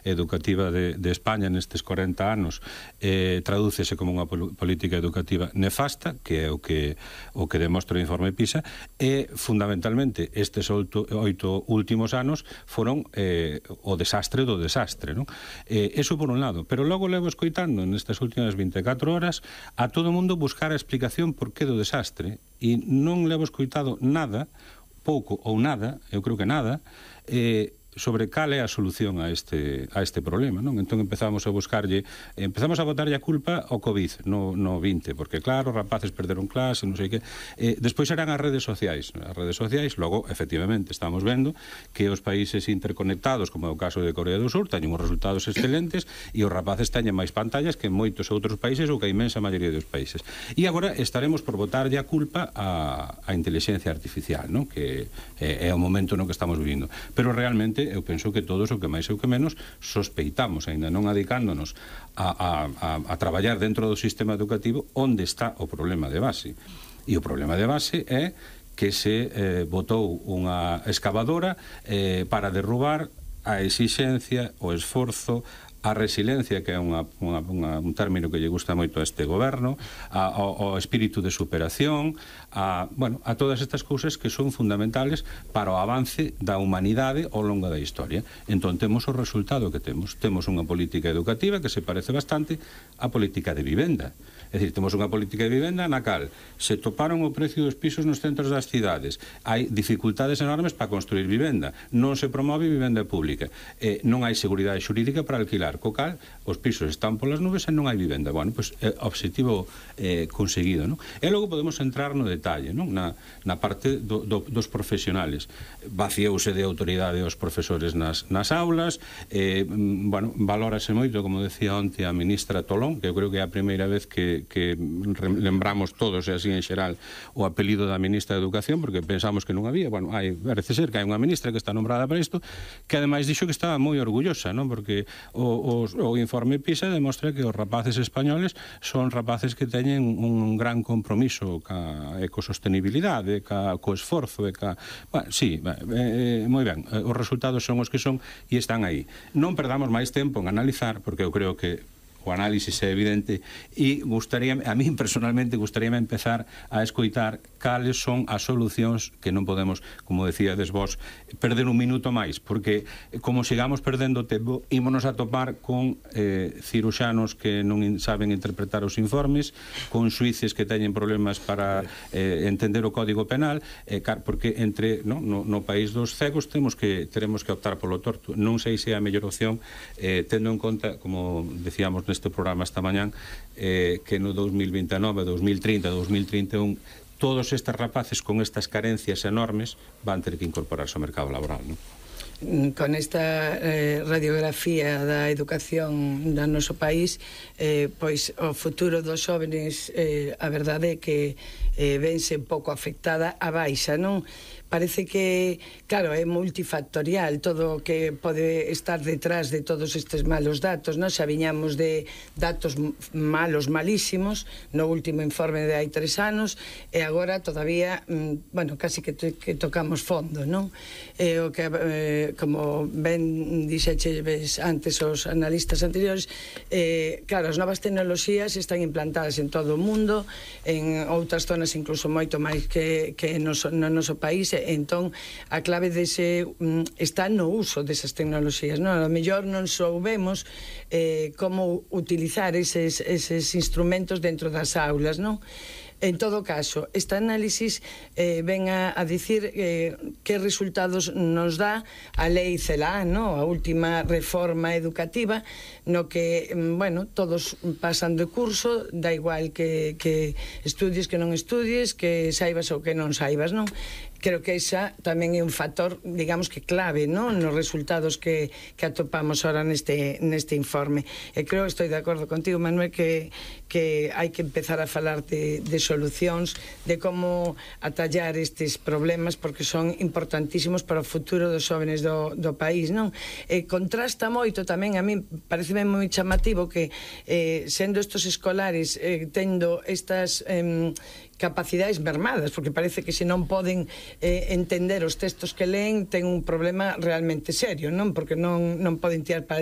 educativa de España nestes 40 anos tradúcese como unha política educativa nefasta, que é o que demostra o informe PISA, e fundamentalmente estes 8 últimos anos foron o desastre do desastre, non? Eso por un lado, pero logo levo escoitando nestas últimas 24 horas a todo o mundo buscar a explicación por que do desastre, e non levo escoitado nada, pouco ou nada, eu creo que nada, sobre cal é a solución a este problema, non? Entón empezamos a botarlle a culpa ao COVID no 20, porque claro, os rapaces perderon clase, non sei que. Despois eran as redes sociais. Logo, efectivamente, estamos vendo que os países interconectados, como é o caso de Corea do Sur, teñen uns resultados excelentes e os rapaces teñen máis pantallas que en moitos outros países ou que a inmensa maioría dos países. E agora estaremos por botarlle a culpa á inteligencia artificial, non? Que é o momento no que estamos vivindo. Pero realmente eu penso que todos, o que máis ou que menos, sospeitamos, aínda non adicándonos a traballar dentro do sistema educativo, onde está o problema de base. E o problema de base é que se botou unha excavadora para derrubar a exixencia, o esforzo, a resiliencia, que é un término que lle gusta moito a este goberno, ao espírito de superación, a todas estas cousas que son fundamentales para o avance da humanidade ao longo da historia. Entón temos o resultado que temos. Temos unha política educativa que se parece bastante á política de vivenda. É dicir, temos unha política de vivenda na cal se toparon o precio dos pisos nos centros das cidades, hai dificultades enormes para construir vivenda, non se promove vivenda pública, non hai seguridade xurídica para alquilar, co cal os pisos están polas nubes e non hai vivenda. Bueno, pois obxectivo conseguido, non? E logo podemos entrar no detalle, non? Na parte dos profesionales. Vaciouse de autoridade os profesores nas aulas, valórase moito, como decía onte a ministra Tolón, que eu creo que é a primeira vez que lembramos todos, e así en xeral, o apelido da ministra de Educación, porque pensamos que non había. Bueno, parece ser que hai unha ministra que está nombrada para isto, que ademais dixo que estaba moi orgullosa, non? Porque o informe PISA demostra que os rapaces españoles son rapaces que teñen un gran compromiso ca ecosostenibilidade, co esforzo, moi ben, os resultados son os que son e están aí. Non perdamos máis tempo en analizar, porque eu creo que o análisis é evidente, e a mí personalmente gustaríame empezar a escoitar cales son as solucións, que non podemos, como decíades vos, perder un minuto máis, porque como sigamos perdendo tempo, ímonos a topar con ciruxanos que non saben interpretar os informes, con xuíces que teñen problemas para entender o Código Penal, porque no país dos cegos teremos que optar polo torto. Non sei se é a mellor opción, tendo en conta, como decíamos neste programa esta mañán, que no 2029, 2030, 2031 todos estes rapaces con estas carencias enormes van ter que incorporarse ao mercado laboral, non? Con esta radiografía da educación do noso país, pois o futuro dos xóvenes, a verdade é que vense un pouco afectada a baixa, non? Parece que, claro, é multifactorial todo o que pode estar detrás de todos estes malos datos, non? Xa viñamos de datos malos, malísimos, no último informe de hai 3 anos, e agora todavía, casi que tocamos fondo, non? O que, como ben dixeches antes os analistas anteriores, claro, as novas tecnoloxías están implantadas en todo o mundo, en outras zonas incluso moito máis que no noso país. Entón, a clave está no uso desas tecnoloxías, non? A lo mellor non soubemos como utilizar eses instrumentos dentro das aulas, non? En todo caso, este análisis ven a dicir que resultados nos dá a lei CELA, a última reforma educativa, no que, todos pasan de curso, da igual que estudies, que non estudies, que saibas ou que non saibas, non? Creo que esa tamén é un factor, digamos que clave, non? Nos resultados que atopamos ahora neste informe. E creo, estou de acordo contigo, Manuel, que hai que empezar a falar de solucións, de como atallar estes problemas, porque son importantísimos para o futuro dos xóvenes do país, non? Contrasta moito tamén, a mí pareceme moi chamativo que sendo estos escolares tendo estas capacidades mermadas, porque parece que se non poden entender os textos que leen ten un problema realmente serio, non? Porque non poden tirar para